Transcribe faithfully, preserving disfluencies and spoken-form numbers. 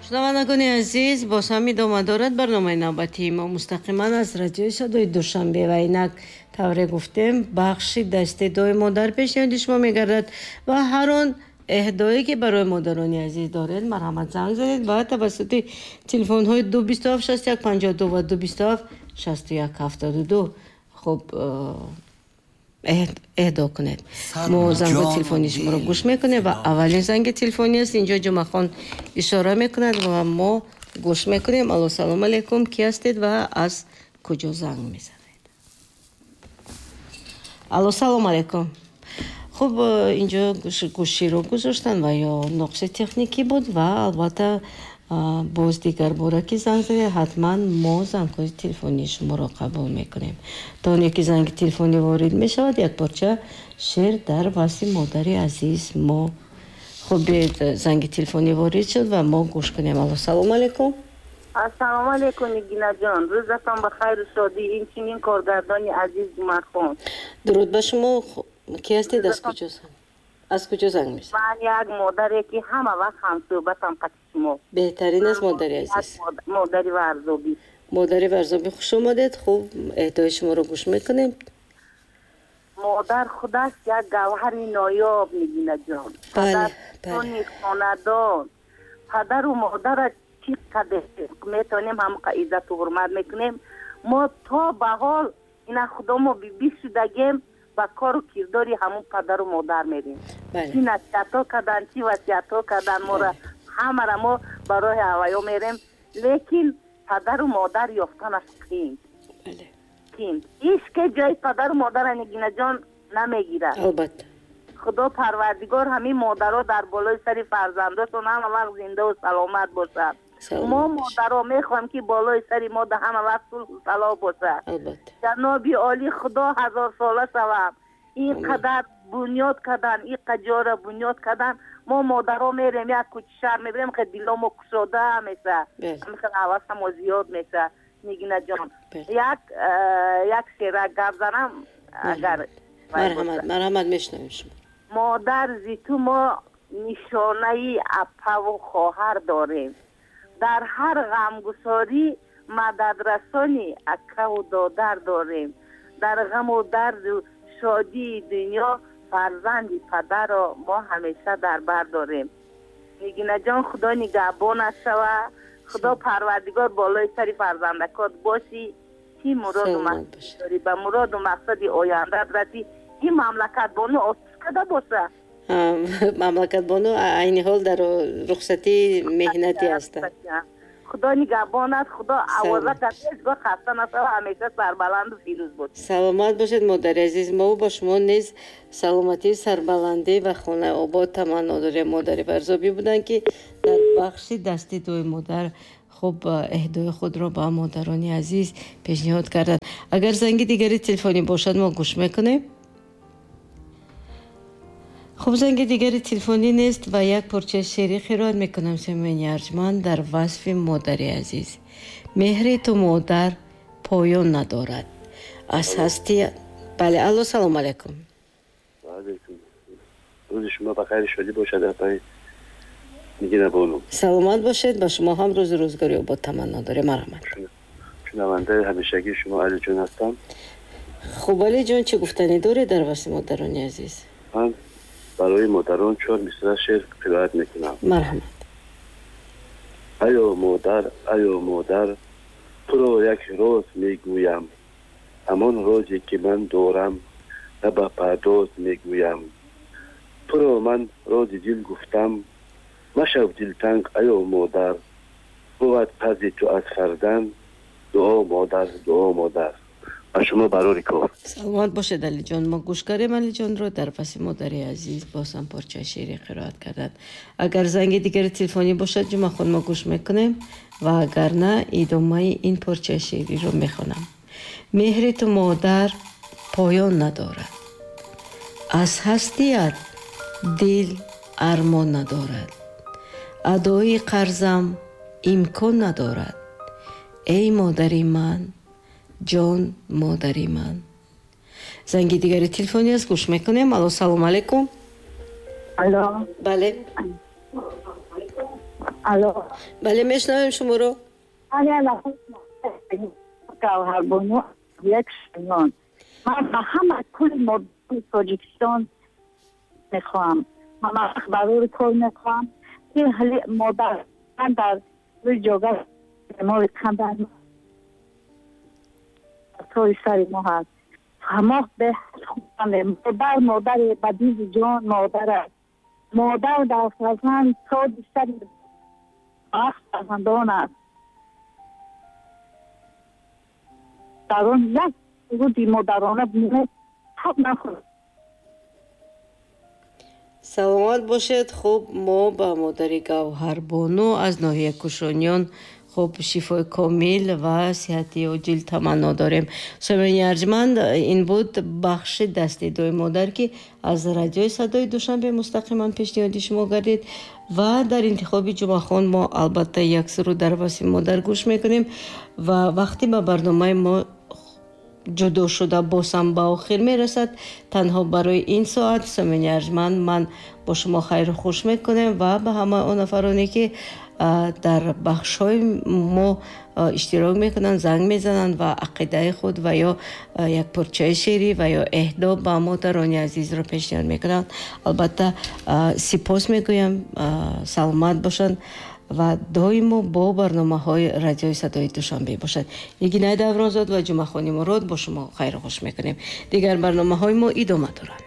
Шунавандагони азиз, боз ҳам идома дорад барномаи навбатии мо мустақиман аз радиои садои Душанбе ва инак тавре гуфтем, бахши дасти дуои модар пешниҳоди шумо мегардад ва ҳар он эҳдое ки барои модарони азиз доред, марҳамат, занг занед ва тавассути телефонҳои ду бисту ҳафт шасту як панҷоҳу ду ва ду бисту ҳафт шасту як ҳафтоду ду хуб эҳдо кунед. Мо зангҳои телефонии шуморо гӯш мекунем ва аввалин занги телефонӣ аст. Инҷо Ҷумъахон ишора мекунад ва мо гӯш мекунем. Алло, салом алейкум, кӣ ҳастед ва аз куҷо занг мезанед? Алло, салом алейкум. Хуб, инҷо гӯширо гузоштанд ва ё нуқси техникӣ буд ва албатта боз дигар бора ки занг занед, ҳатман мо зангҳои телефонии шуморо қабул мекунем. То оне ки занги телефонӣ ворид мешавад, як порча шеър дар васфи модари азиз мо. Хуб, биёед, занги телефонӣ ворид шуд ва мо гӯш кунем. Алло, салому алейкум. Ассалому алейкум, Нигинаҷон, рӯзатон ба хайру шодӣ, инчунин коргардони азиз Ҷумъахон. Дуруд ба шумо. Кӣ ҳастед, аз куҷо аз куҷо занг мезанед? Ман як модаре ки ҳама вақт ҳамсӯҳбатам қати шумо. Беҳтарин аст, модари азиз. Модари Варзобӣ. Модари Варзобӣ, хуш омадед. Хуб, эҳдои шуморо гӯш мекунем. Модар худаш як гавҳари ноёб, Нигинаҷон. Бале. Хонадон падару модара чӣ қадр метавонем, ҳамқа иззату ҳурмат мекунем. Мо то ба ҳол ина худомо бибӣ шудагем, ба кору кирдори ҳамун падару модар мерем. Чӣ насиҳатҳо кардан, чӣ васиятҳо кардан мора, ҳамара мо ба роҳи ҳаваё мерем. Лекин падару модар ёфтанаш қиин қиин. Ҳеч ҷои падару модара, Нигинаҷон, намегирад. Албатта. Худо Парвардигор ҳамин модаро дар болои сари фарзандошон ҳама вақт зиндаву саломат бошад. Мо модаро мехоҳем, ки болои сари мо да ҳама вақт сулҳу салоҳ бошад. Ҷаноби олӣ, Худо ҳазорсола шавам. Ин қадар бунёд кардан, ин ҷора бунёд кардан. Мо модаро мерем, як кӯчи шаҳр мебирем, хел диломо кушода меша, хел ҳавасамо зиёд меша. Нигинаҷон, як э, як шера гап занам агар. Марҳамат, марҳамат, мешунавем шумо. Модар, зи ту мо нишонаи апаву хоҳар дорем, дар ҳар ғамгусорӣ мададрасони акаву додар дорем. Дар ғаму дарду шодии дунё фарзанди падарро мо ҳамеша дар бар дорем. Нигинаҷон, Худо нигаҳбонат шава, Худо Парвардигор болои сари фарзандакот бошӣ. Чӣ муроду мақсад дорӣ, ба муроду мақсади ояндаат расӣ. Ин Мамлакатбону отпускада боша. Мамлакатбону айни ҳол дар рухсатии меҳнатӣ ҳастанд. Худо нигаҳбонат, Худо овозатат ҳеҷ гоҳ хаста нашава, ҳамеша сарбаланду фирӯз бош. Саломат бошед, модари азиз. Мо ба шумо низ саломатӣ, сарбаландӣ ва хонаи обод таманно дорем. Модари Варзобӣ буданд, ки дар бахши дасти дуои модар хуб эҳдои худро ба модарони азиз пешниҳод карданд. Агар занги дигари телефонӣ бошад, мо гӯш мекунем. Хуб, занги дигари телефонӣ нест ва як порчаи шеърӣ қироат мекунам, семоини арҷманд, дар васфи модари азиз. Меҳри ту, модар, поён надорад, аз ҳасти. Бале, алло, салому алайкум. Рӯзи шумо ба хайри шодӣ бошад, апаи Нигина бону. Саломат бошед, ба шумо ҳам рӯзу рӯзгори обод таманно дорем. Марҳамат. Шунавандаи ҳамешагии шумо Алиҷон ҳастам. Хуб, Алиҷон, чӣ гуфтанӣ доред дар васфи модарони азиз? Ман барои модарон чор мисра шеър қироат мекунам. Марҳамат. Аё модар, аё модар, туро як роз мегӯям, ҳамон розе ки ман дорам, на ба пардоз мегӯям. Туро ман рози дил гуфтам, машав дилтанг, аё модар. Бувад қарзи ту аз фарзанд дуо, модар, дуо, модар. Ба шумо барори кор. Саломат бошед, Алиҷон. Мо гӯш кардем Алиҷонро, дар васфи модари азиз боз ҳам порчаи шеърӣ қироат карданд. Агар занги дигари телефонӣ бошад, Ҷумъахон, мо гӯш мекунем ва агар на, идомаи ин порчаи шеъриро мехонам. Меҳри ту, модар, поён надорад, аз ҳастият дил армон надорад. Адои қарзам имкон надорад, эй модари ман, ҷон модари ман. Занги дигари телефонӣ аст, гӯш мекунем. Алло, салому алайкум. Алло. Бале. Алло. Бале, мешнавем шуморо. Гавҳарбону як шунон. Ман ба ҳама кулли модарони Тоҷикистон мехоҳам. Ман барори кор мехоҳам ки модар дар рӯи ҷога бемори қанд тои сари мо ҳаст. Мо модар модари ба дизи ҷон модар аст. Модар дар фарзанд тоҷи сари фарзандон аст. Дар он як руди модарона ҳақ нахӯрд. Саломат бошед. Хуб, мо ба модари Гавҳарбону аз ноҳияи Кушониён хуб шифои комил ва сиҳати оҷил таманно дорем. Самиъони арҷманд, ин буд бахши дастнидои модар, ки аз радиои Садои Душанбе мустақиман пешниҳоди шумо гардид ва дар интихоби Ҷумъахон мо албатта як суруд дар васфи модар гӯш мекунем ва вақте ба барномаи мо ҷудо шуда боз ҳам ба охир мерасад, танҳо барои ин соат самиъони арҷманд ман бо шумо хайру хуш мекунем ва ба ҳама он нафароне ки дар бахшҳои мо иштирок мекунанд, занг мезананд ва ақидаи худ ва ё як порчаи шеърӣ ва ё эҳдо ба модарони азизро пешниҳод мекунанд. Албатта сипос мегӯям, саломат бошанд ва доимо бо барномаҳои радиои Садои Душанбе бошад. Нигинаи Давронзод ва Ҷумъахони Мурод бо шумо хайру хуш мекунем. Дигар барномаҳои мо идома доранд.